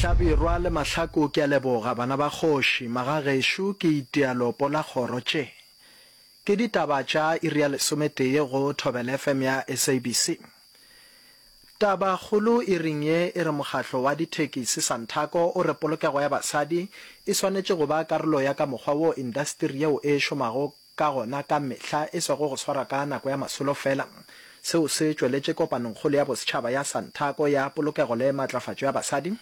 Hlabirwa le Mahlaku ke a leboga bana ba kgoši, magagešo ke itia lopo la kgoro tše. Ke ditaba tša iri ya lesometee go Thobela FM ya SABC. Taba kgolo iring ye e re mokgahlo wa dithekisi Santaco o re polokego ya basadi e swanetše go ba karolo ya ka mokgwa wo indasteri yeo e šomago ka gona ka mehla e sego go swara ka nako ya masolo fela. Seo se tšweletše kopanongkgolo ya bosetšhaba ya Santaco ya polokego le matlafatšo ya basadi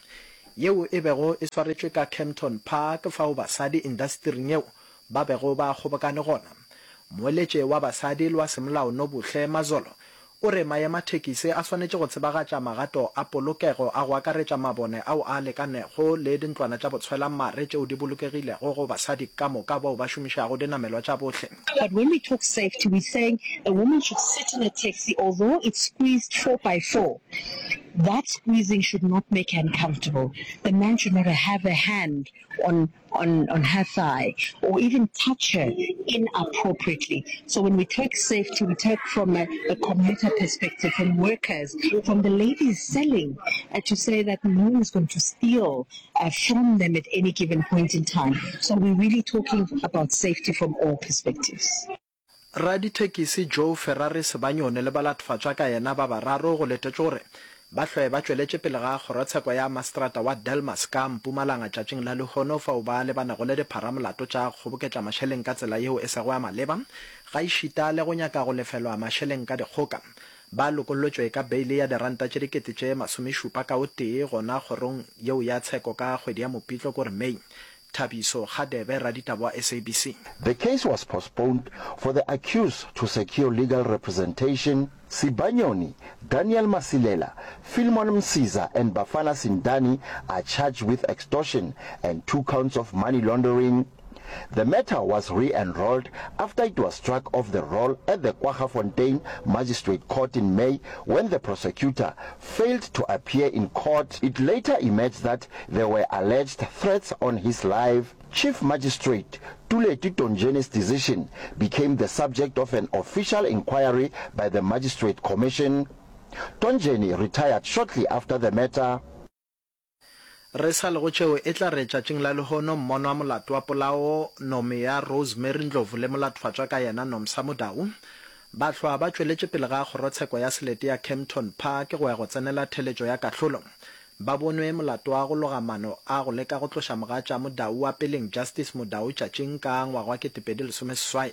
yeo e bego e swaretšwe ka Kempton Park fao basadi indastering yeo ba bego ba kgobokane gona. Moeletše wa basadi le wa semolao Nobuhle Mazolo o re maemathekisi a swanetše go tsebagatša magato a polokego a go akaretša mabone ao a lekanego le dintlwana tša botshwelamare tšeo di bolokegilego go basadi ka moka bao ba šomišago dinamelwa tša bohle. But when we talk safety, we're saying a woman should sit in a taxi although it's squeezed 4x4, that squeezing should not make her uncomfortable. The man should not have a hand on on on her thigh or even touch her inappropriately. So when we talk safety, we talk from a, a commuter perspective, from workers, from the ladies selling, uh, to say that no one is going to steal uh, from them at any given point in time. So we're really talking about safety from all perspectives. Radithekisi Joe Ferrari Sebanyoni le balatfatšwa ka yena ba bararo go letetšwe gore ba hlwe ba tšweletše pele ga kgorotsheko ya maseterata wa Delmas ka Mpumalanga tšatšing la lehono fao ba lebanego le dipharamolato tša kgoboketša mašeleng ka tsela yeo e sego ya maleba gaešita le go nyaka go lefelwa mašeleng ka dikgoka. Ba lokollotšwe ka beile ya diranta tše dikete tše masomešupa ka o tee gona kgorong yeo ya tsheko ka kgwedi ya Mopitlo kore May. Thabiso Kgadebe, raditaba wa SABC. The case was postponed for the accused to secure legal representation. Sibanyoni, Daniel Masilela, Philemon Msiza and Bafana Sindani are charged with extortion and two counts of money laundering. The matter was re-enrolled after it was struck off the roll at the Kwaggafontein Magistrate Court in May when the prosecutor failed to appear in court. It later emerged that there were alleged threats on his life. Chief Magistrate Tuleti Tonjeni's decision became the subject of an official inquiry by the Magistrate Commission. Tonjeni retired shortly after the matter. Re sa le go tšeo, e tla re tšatšing la lehono mmono wa molato wa polao Nomia Rosemary Ndlovu le molatfatšwa ka yena Nomsa Mudau ba hlwa ba tšweletše pele ga kgorotsheko ya selete ya Kempton Park go ya go tsenela theletšo ya kahlolo. Ba bonwe molato wa go loga mano a go leka go tloša mogatša Mudau wa peleng Justice Mudau tšatšing ka ngwaga wa 2018.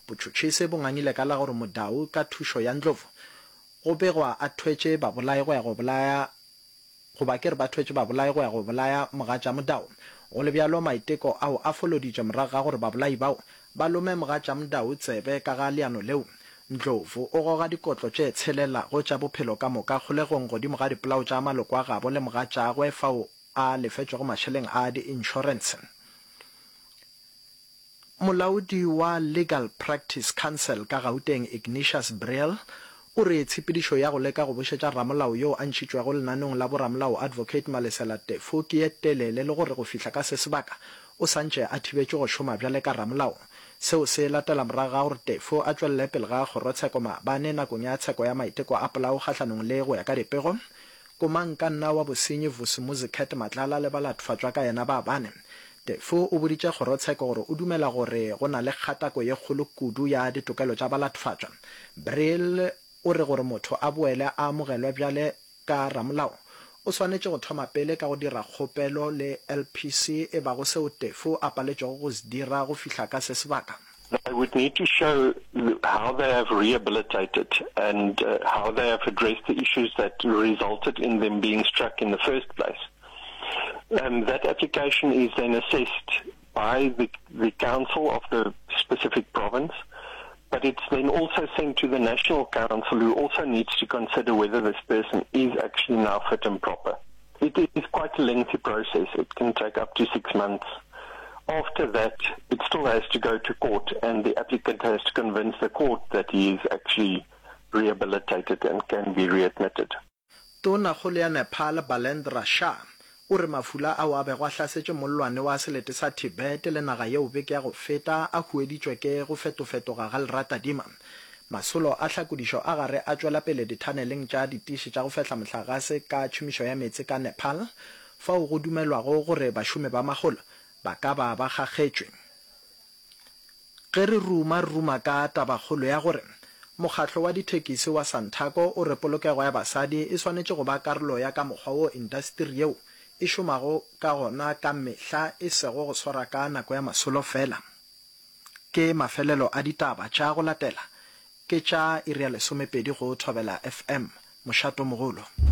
Botšhotšhisi bo ngangile ka la gore Mudau ka thušo ya Ndlovu go begwa a thwetše babolai go ya go bolaya Goba ke re ba thwetše babolai go ya go bolaya mogatša Modau. Go le bjalo, maiteko ao a foloditšwe morago ga gore babolai bao ba lome mogatša Modau tsebe ka ga leano leo. Ndlovu o goga dikotlo tše tshelelago tša bophelo ka moka kgolegong godimo ga dipolao tša maloko a gabo le mogatšagwe fao a lefetšwego mašeleng a diinšorense. Molaodi wa Legal Practice Council ka Gauteng Ignatius Briel o re tshepedišo ya go leka go bušetša ramolao yoo a ntšhitšwego lenaneong la boramolao Advocate Malesela Teffo ke ye telele le gore go fihla ka se sebaka o sa ntše a thibetšwe go šoma bjale ka ramolao. Seo se latela morago ga gore Teffo a tšwelele pele ga kgorotsheko maabane nakong ya tsheko ya maiteko a polao kgahlanong le go ya ka dipego Komangkanna wa bosenyi Vusimuzi Cat Matlala le balatfatšwa ka yena ba bane. Teffo o boditše kgorotsheko gore o dumela gore go na le kgatako ye kgolo kudu ya ditokelo tša balatfatšwa. Brill o re gore motho a boele a amogelwe bjale ka ramolao, o swanetše go thoma pele ka go dira kgopelo le LPC e bago seo Teffo a paletšwego go se dira go fihla ka se sebaka. They would need to show how they have rehabilitated and how they have addressed the issues that resulted in them being struck in the first place. Um, that application is then assessed by the, the council of the specific province, but it's then also sent to the National Council who also needs to consider whether this person is actually now fit and proper. It is quite a lengthy process. It can take up to six months. After that, it still has to go to court, and the applicant has to convince the court that he is actually rehabilitated and can be readmitted. Tonakgolo ya Nepal Balendra Shah o re mafula ao a bego a hlasetše mollwane wa selete sa Tibet le naga yeo beke ya go feta a hueditšwe ke go fetofetoga ga leratadima. Masolo a hlakodišo a gare a tšwela pele dithaneleng tša ditiši tša go fehla mohlagase ka tšhomišo ya meetse ka Nepal. fao go dumelwago gore bašomi ba magolo ba ka ba ba kgakgetšwe. Ge re ruma, re ruma ka tabakgolo ya gore mokgatlo wa dithekisi wa Santaco o re polokego ya basadi e swanetše go ba karolo ya ka mokgwa wo indasteri yeo e šomago ka gona ka mehla e sego go swara ka nako ya masolo fela. Ke mafelelo a ditaba tša go latela ke tša iri ya lesomepedi go Thobela FM, mošatomogolo.